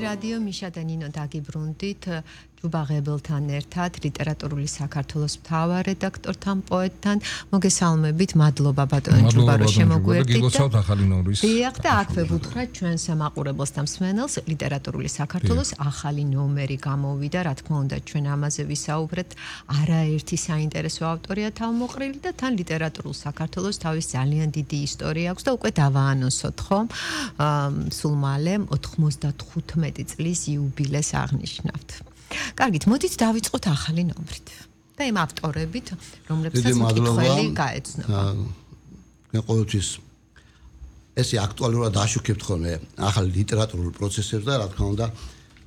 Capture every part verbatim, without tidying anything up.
რადიო მიშა და ნინო დაგიბრუნდით ჯუბაღებელთან ერთად ლიტერატურული საქართველოს მთავარ რედაქტორთან პოეტთან მოგესალმებით მადლობა ბატონო ჯუბა რომ შემოგვერდით გილოცავთ ახალი ნომრის დიახ და აქვე ვუთხრათ ჩვენს მაყურებელს და მსმენელს ლიტერატურული საქართველოს ახალი ნომერი გამოვიდა რა თქმა უნდა ჩვენ ამაზე ვისაუბრეთ არაერთი საინტერესო ავტორია თავმოყრილი და თან ლიტერატურულ საქართველოს თავის ძალიან დიდი ისტორია აქვს და უკვე დავაანონსოთ ხომ სულ მალე ოთხმოცდათხუთმეტი წლის იუბილეს აღნიშნავთ. კარგით, მოდით დავიწყოთ ახალი ნომრით. და იმ ავტორებით, რომლებსაც მკითხველი გაეცნობა. მე ყოველთვის ესე აქტუალურად აშუქებთ ხოლმე ახალი ლიტერატურულ პროცესებს და რა თქმა უნდა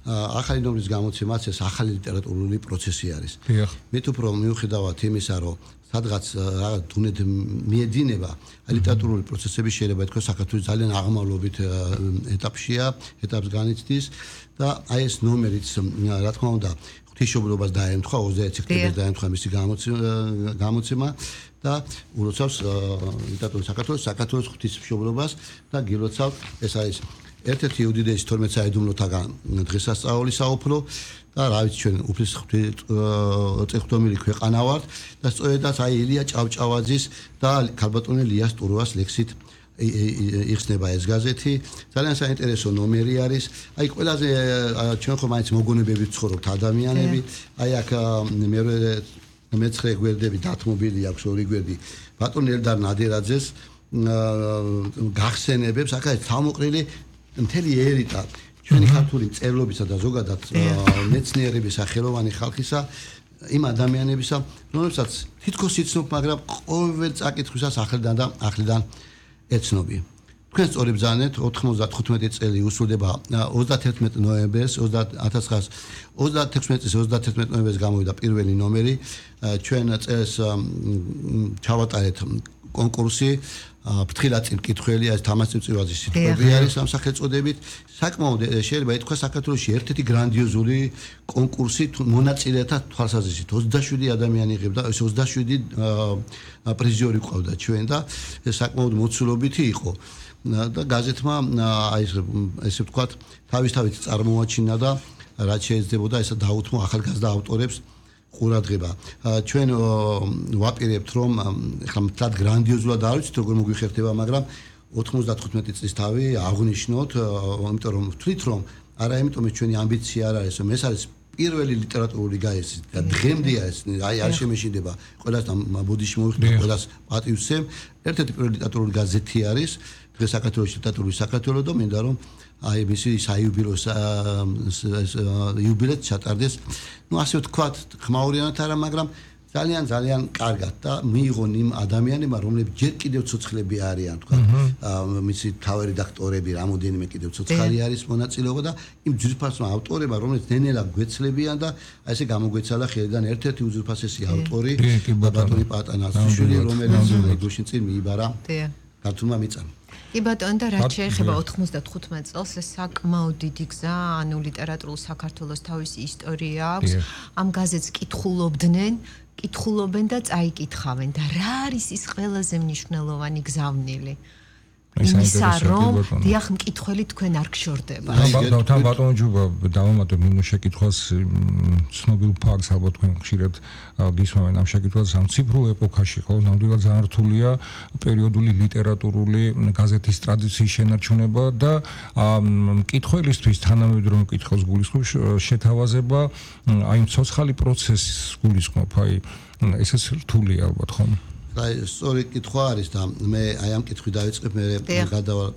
ახალი ნომრის გამოცემაც ეს ახალი ლიტერატურული პროცესი არის. მე თუ უფრო მიუხედავად იმისა, რომ სადღაც რაღაც თუნდაც მიედინება ლიტერატურული პროცესები შეიძლება ითქვას საქართველოს ძალიან აღმავლობით ეტაპშია, ეტაპს განიცდის და აი ეს ნომერიც რა თქმა უნდა ღვთისმშობლობას დაემთხვა ოცდაერთი სექტემბერს დაემთხვა მისი გამოცემა და ულოცავს ლიტერატურის საქართველოს საქართველოს ღვთისმშობლობას და გილოცავთ ეს არის ერთ-ერთი უდიდესი თორმეტ საიდუმლოთაგან დღესასწაული საუფლო და რა ვიცი ჩვენ უფლის წეხვდომილი ქვეყანა ვართ და სწორედაც აი ილია ჭავჭავაძის და ქალბატონი ლიას ტურვას ლექსით იხსნება ეს გაზეთი ძალიან საინტერესო ნომერი არის აი ყველაზე ჩვენ ხომ მაინც მოგონებებით ცხოვრობთ ადამიანები აი აქ მე მეცხრე გვერდები დათმობილი აქვს ორი გვერდი ბატონ ელდარ ნადერაძეს გახსენებებს აქ არის თავმოყრილი მთელი ერიტა ჩვენი ქართული მწერლობისა და ზოგადად მეცნიერების სახელოვანი ხალხისა იმ ადამიანებისა რომლებსაც თითქოს იცნობ მაგრამ ყოველ წაკითხვისას ახლიდან და ახლიდან ეცნობი. თქვენ სწორი ბრძანეთ ოთხმოცდათხუთმეტი წელი უსრულდება ოცდათერთმეტი ნოემბერს ათას ცხრაასი ოცდათექვსმეტი წლის ოცდათერთმეტი ნოემბერს გამოვიდა პირველი ნომერი ჩვენ წელს ჩავატარეთ კონკურსი ფრთხილად წამკითხველი არის თამაზ წივწივაძის სიტყვები არის ამ სახელწოდებით საკმაოდ შეიძლება ითქვას საქართველოში ერთ-ერთი გრანდიოზული კონკურსი მონაწილეთა თვალსაზრისით ოცდაშვიდი ადამიანი იღებდა ეს ოცდაშვიდი პრიზიორი ყავდა ჩვენ და საკმაოდ მოცულობითი იყო და გაზეთმა აი ესე ვთქვათ თავისთავად წარმოაჩინა და რაც შეეძლებოდა ესა დაუთმო ახალგაზრდა ავტორებს ყურადღება. ჩვენ ვაპირებთ რომ ახლა მთლად გრანდიოზულად არ ვიცით როგორ მოგვიხერხდება, მაგრამ ოთხმოცდათხუთმეტი წლის თავი აღნიშნოთ, იმიტომ რომ ვთვლით რომ არა იმიტომ რომ ჩვენი ამბიცია არ არის, რომ ეს არის პირველი ლიტერატურული გაერთი და დღემდე არის, აი არ შემეშინდება ყველას ბოდიში მოვიხდით ყველას პატივსემ, ერთ-ერთი პირველი ლიტერატურული გაზეთი არის, დღეს საქართველოს ლიტერატურული საქართველო და მინდა რომ აი მისი საიუბილეო იუბილეც ჩატარდეს. ნუ ასე ვთქვათ, ხმაურიანად არა, მაგრამ ძალიან ძალიან კარგად და მიიღონ იმ ადამიანებმა, რომლებიც ჯერ კიდევ ცოცხლები არიან, თქვა. მისი თავი რედაქტორები, რამოდენიმე კიდევ ცოცხალი არის მონაწილეობა და იმ ძვირფასმა ავტორებმა, რომლებიც ნენელა გვეცლებიან და აი ესე გამოგვეცალა ხელიდან ერთ-ერთი უძვირფასესი ავტორი ბატონი პატანასიშვილი, რომელიც ეგრუშინ წინ მიიბარა ქართულმა მიწამ. კი ბატონო და რაც შეეხება ოთხმოცდათხუთმეტ წელს ეს საკმაოდ დიდი გზა ანუ ლიტერატურულ საქართველოს თავისი ისტორია აქვს ამ გაზეთს კითხულობდნენ კითხულობენ და წაიკითხავენ და რა არის ის ყველაზე მნიშვნელოვანი გზავნილი იმისა რომ დიახ მკითხველი თქვენ არ გშორდება თან ბატონო ჯუბა დავამატებ ნუ შეკითხვას ცნობილ ფაქტს ალბათ თქვენ ხშირად გისმენთ ამ შეკითხვას ამ ციფრულ ეპოქაში ხო ნამდვილად ძალიან რთულია პერიოდული ლიტერატურული გაზეთის ტრადიციის შენარჩუნება და მკითხველისთვის თანამედროვე მკითხველს გულისხმობს შეთავაზება აი ცოცხალი პროცესის გულისხმობ აი ესეც რთულია ალბათ ხო აი სწორი კითხვა არის და მე აი ამ კითხვით დავიწყებ მე გადავალ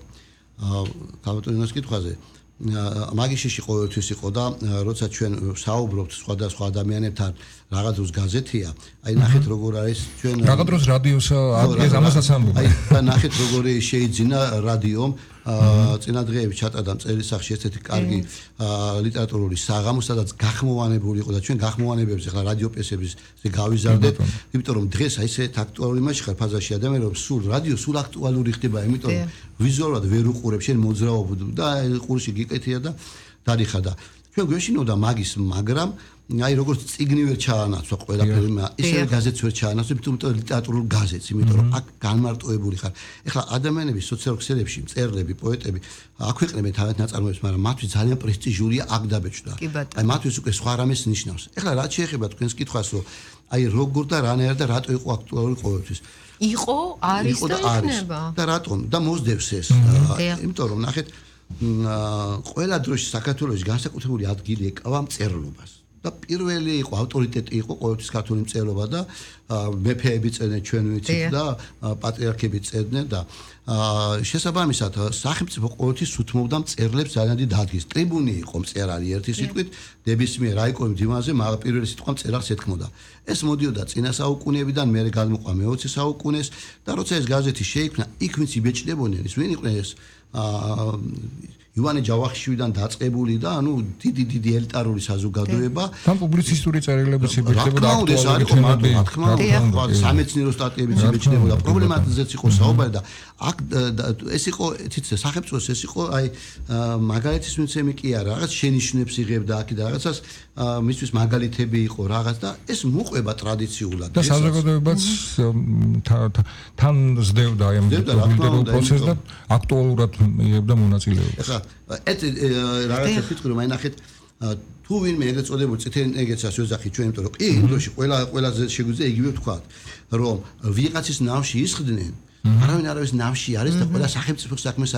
ქალბატონის კითხვაზე მაგიშიში ყოველთვის იყო და როცა ჩვენ საუბრობთ სხვადასხვა ადამიანებთან რაღაც დროს გაზეთია აი ნახეთ როგორ არის ჩვენ რაღაც დროს რადიოსა ადგეს ამასაც ამბობ აი და ნახეთ როგორი შეიძინა რადიომ წინა დღეებში ჩატარდა წელისახში ერთ-ერთი კარგი ლიტერატურული საღამო სადაც გახმოვანებული იყო და ჩვენ გახმოვანებებს ახლა რადიოპესების გავიზარდეთ იმიტომ რომ დღეს აი ესე აქტუალური იმაში ხარ ფაზაში ადამიანი რომ სულ რადიო სულ აქტუალური ხდება იმიტომ რომ ვიზუალურად ვერ უყურებ შენ მოძრაობ და ყურში გიკეთია და დარიხა და ჩვენ გვეშინოდა მაგის, მაგრამ აი როგორც წიგნი ვერ ჩაანაცვა ყველაფერი, ისე გაზეთს ვერ ჩაანაცვა, თუმცა ლიტერატურულ გაზეთს, იმიტომ რომ აქ განმარტოებული ხარ. ეხლა ადამიანები სოციალურ ქსელებში, მწერლები, პოეტები აქვეყნებენ თავად ნაწარმოებებს, მაგრამ მათთვის ძალიან პრესტიჟულია აქ დაბეჭდა. აი მათთვის უკვე სხვა რამეს ნიშნავს. ეხლა რაც შეეხება თქვენს კითხვას, რომ აი როგორ და რანაირად და რატო იყო აქტუალური ყოველთვის. იყო, არის და იქნება. და რატომ? და მოსდევს ეს. იმიტომ რომ ნახეთ, ყველა დროში საქართველოში განსაკუთრებული ადგილი ეკავა მწერლობას. და პირველი იყო ავტორიტეტი იყო ყოველთვის ქართული მწერლობა და მეფეები წერდნენ ჩვენ ვიცით და პატრიარქები წერდნენ და შესაბამისად სახელმწიფო ყოველთვის უთმობდა მწერლებს ძალიან დიდ ადგილს. ტრიბუნი იყო მწერალი ერთი სიტყვით, ნებისმიერ რაიკოვის დივანზე პირველი სიტყვა მწერალს ეთქმოდა. ეს მოდიოდა წინა საუკუნეებიდან, მერე გადმოყვა მეოცე საუკუნეს და როცა ეს გაზეთი შეიქმნა, იქ ვინც იბეჭდებოდნენ, ის ვინ იყვნენ ეს ივანე ჯავახიშვილიდან დაწყებული და ანუ დიდი დიდი ელიტარული საზოგადოება თან პუბლიცისტური წერილებიც იბეჭდებოდა აქტუალური რა თქმა უნდა სამეცნიერო სტატიებიც იბეჭდებოდა პრობლემატიზეც იყო საუბარი და აქ ეს იყო თითქოს სახელმწიფოს ეს იყო აი მაგალითის მიცემი კი არა რაღაც შენიშვნებს იღებდა აქ და რაღაცას მისთვის მაგალითები იყო რაღაც და ეს მოყვება ტრადიციულად და საზოგადოებაც თან ზდევდა აი ამ პოლიტიკურ პროცესს და აქტუალურად იღებდა მონაწილეობას. ეს რაღაცა ფიქრი რომ აი ნახეთ თუ ვინმე ეგრეთ წოდებული წითელი ნეგეცას ვეძახი ჩვენ იმიტომ რომ კი იმ დროში ყველა ყველაზე შეგვიძლია იგივე ვთქვათ რომ ვიღაცის ნავში ისხდნენ არავინ არავის ნავში არის და ყველა სახელმწიფო საქმეს